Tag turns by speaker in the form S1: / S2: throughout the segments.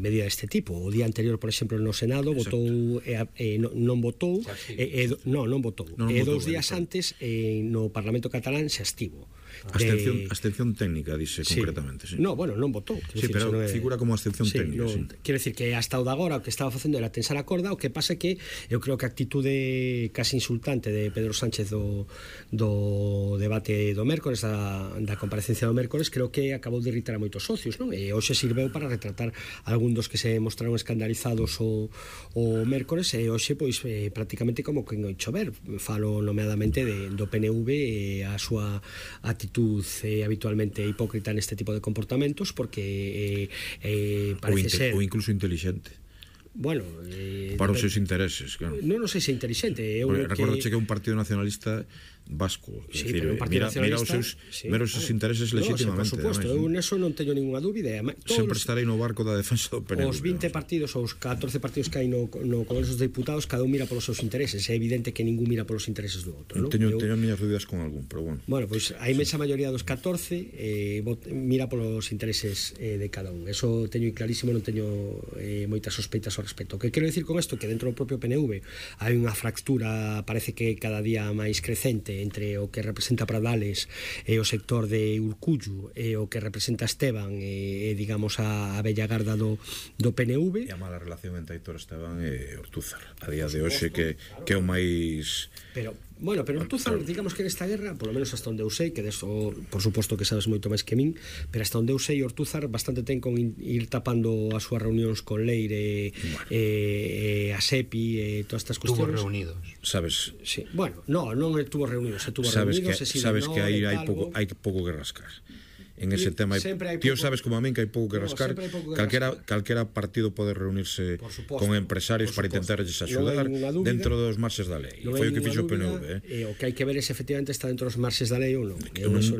S1: medida deste tipo. O día anterior, por exemplo, no Senado votou non votou e 2 días antes no Parlamento catalán se abstivo.
S2: Abstención técnica, dice concretamente.
S1: No, bueno, non votou.
S2: Sí, pero figura como abstención técnica.
S1: Quero dicir que hasta o de agora o que estaba facendo era tensar a corda. O que pasa é que eu creo que a actitude casi insultante de Pedro Sánchez do debate do mércores, da comparecencia do mércores, creo que acabou de irritar a moitos socios, non? E hoxe sirveu para retratar algún dos que se mostraron escandalizados o mércores, e hoxe pois prácticamente como que en chover. Falo nomeadamente do PNV e a súa actitud habitualmente hipócrita neste tipo de comportamentos, porque parece ser
S2: ou incluso inteligente.
S1: Bueno,
S2: para os seus intereses, claro.
S1: Non sei se inteligente.
S2: Recordo que é un partido nacionalista vasco,
S1: sí, decir, mira
S2: os seus intereses legítimamente.
S1: Por suposto, eu neso non teño ninguna dúbida.
S2: Sempre estarei no barco da defensa do PNV.
S1: Os 20 partidos ou os 14 partidos que hai no Congreso dos Deputados, cada un mira polos seus intereses. É evidente que ningún mira polos intereses do outro, non?
S2: Teño miñas dúbidas con algún, pero bueno.
S1: Bueno, pois a inmensa maioría dos 14 mira polos intereses de cada un. Eso teño clarísimo, non teño moitas sospeitas ao respecto. O que quero dicir con isto que dentro do propio PNV hai unha fractura, parece que cada día máis crecente, entre o que representa Pradales e o sector de Urcullu e o que representa Esteban e digamos a bella garda do PNV.
S2: E a mala relación entre Aitor Esteban e Ortúzar a día de hoxe que é o máis...
S1: Pero Ortúzar, digamos que nesta guerra, polo menos hasta onde eu sei, que deso, por suposto que sabes moito máis que min, pero hasta onde eu sei, Ortúzar bastante ten con ir tapando as súas reunións con Leire a SEPI e todas estas cuestións.
S3: Estuvo reunidos.
S2: Sabes?
S1: Sí. Bueno, non estuvo reunidos, reunidos.
S2: Sabes que aí hai pouco que rascar. En ese tema, tío, sabes como a min que hai pouco que rascar. Calquera partido pode reunirse con empresarios para intentarles axudar dentro dos marxes da lei. Foi o que fixo o PNV.
S1: O que hai que ver é se efectivamente está dentro dos marxes da lei ou non.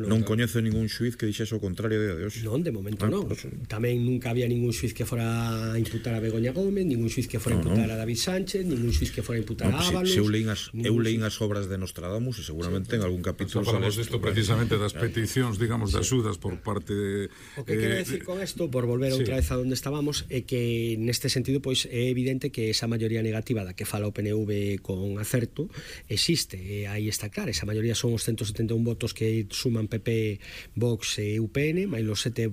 S2: Non coñezo ningún xuiz que dixese o contrario a día de hoxe.
S1: Non, de momento non. Tamén nunca había ningún xuiz que fora a imputar a Begoña Gómez, ningún xuiz que fora a imputar a David Sánchez, ningún xuiz que fora a imputar a Ábalos.
S2: Eu leín as obras de Nostradamus e seguramente en algún capítulo
S4: falamos disto precisamente das peticións, digamos, de axudas por parte de...
S1: O que quero decir con isto, por volver outra vez a onde estábamos, é que neste sentido pois é evidente que esa maioría negativa da que fala o PNV con acerto existe, e aí está claro. Esa maioría son os 171 votos que suman PP, Vox e UPN, máis os 7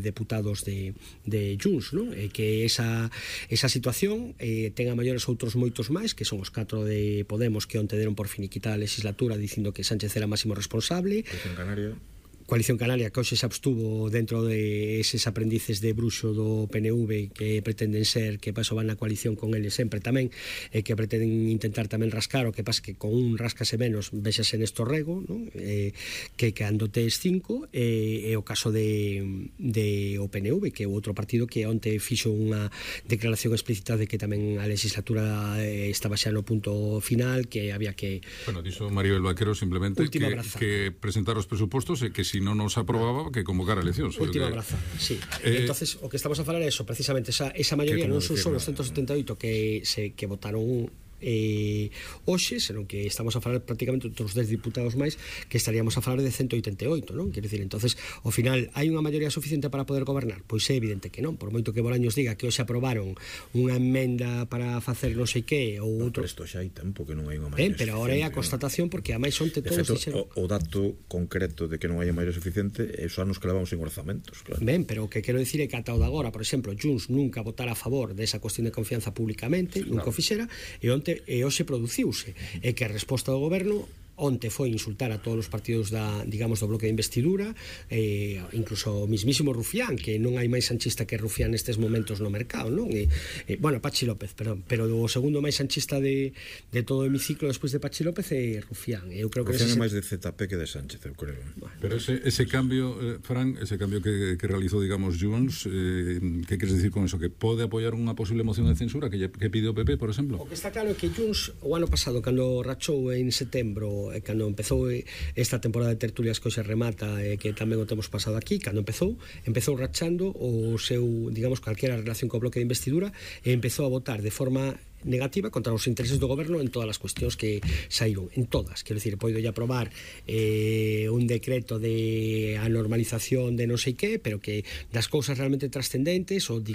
S1: deputados de Junts, non? E que esa situación ten a maiores outros moitos máis, que son os 4 de Podemos, que onte deron por finiquitada a legislatura dicindo que Sánchez era máximo responsable. Coalición Canaria, que hoxe se abstuvo dentro de eses aprendices de bruxo do PNV que pretenden ser, que paso van na coalición con eles sempre tamén, e que pretenden intentar tamén rascar, o que pasa que con un rascase menos, vexase Néstor Rego, non? Que cando tes 5, e o caso de o PNV, que é outro partido que onte fixo unha declaración explícita de que tamén a legislatura estaba xa no punto final, que había que...
S4: Bueno, dixo Maribel Vaquero simplemente que presentar os presupostos e que si non nos aprobaba que convocar eleccións.
S1: Última abrazada, sí. Entonces, o que estamos a falar é eso, precisamente esa maioría non son só os 178 que votaron hoxe, senón que estamos a falar prácticamente outros 10 diputados máis, que estaríamos a falar de 188, non? Quero dicir, entonces, ao final, hai unha maioría suficiente para poder gobernar? Pois é evidente que non, por moito que Bolaños diga que hoxe aprobaron unha emenda para facer non sei que ou outro.
S2: Pero isto xa hai tempo que non hai unha maioría suficiente.
S1: Pero agora é a constatación, porque a máis onte todos dixeron...
S2: O dato concreto de que non hai maioría suficiente é os anos que levamos en orzamentos, claro.
S1: Ben, pero o que quero dicir é que ata o de agora, por exemplo, Junts nunca votara a favor desa cuestión de confianza públicamente, nunca o fixera, e hoxe produciuse, e que a resposta do goberno onte foi insultar a todos os partidos digamos, do bloque de investidura, incluso o mismísimo Rufián, que non hai máis sanchista que Rufián nestes momentos no mercado, non? Bueno, Pachi López, perdón, pero o segundo máis sanchista de todo o hemiciclo despois de Pachi López é Rufián. Eu creo que
S2: Rufián é máis de ZP que de Sánchez, eu creo.
S4: Bueno, pero ese cambio, Fran, ese cambio que realizou, digamos, Junts, que queres decir con eso? Que pode apoiar unha posible moción de censura que pide o PP, por exemplo?
S1: O que está claro é que Junts, o ano pasado, cando rachou en setembro, cando empezou esta temporada de tertulias que hoxe remata, que tamén o temos pasado aquí, cando empezou rachando o seu, digamos, calquera relación co bloque de investidura, e empezou a votar de forma negativa contra os intereses do goberno en todas as cuestións que saíron, en todas, quero dicir, poido lle aprobar un decreto de a normalización de non sei que, pero que das cousas realmente trascendentes, ou digamos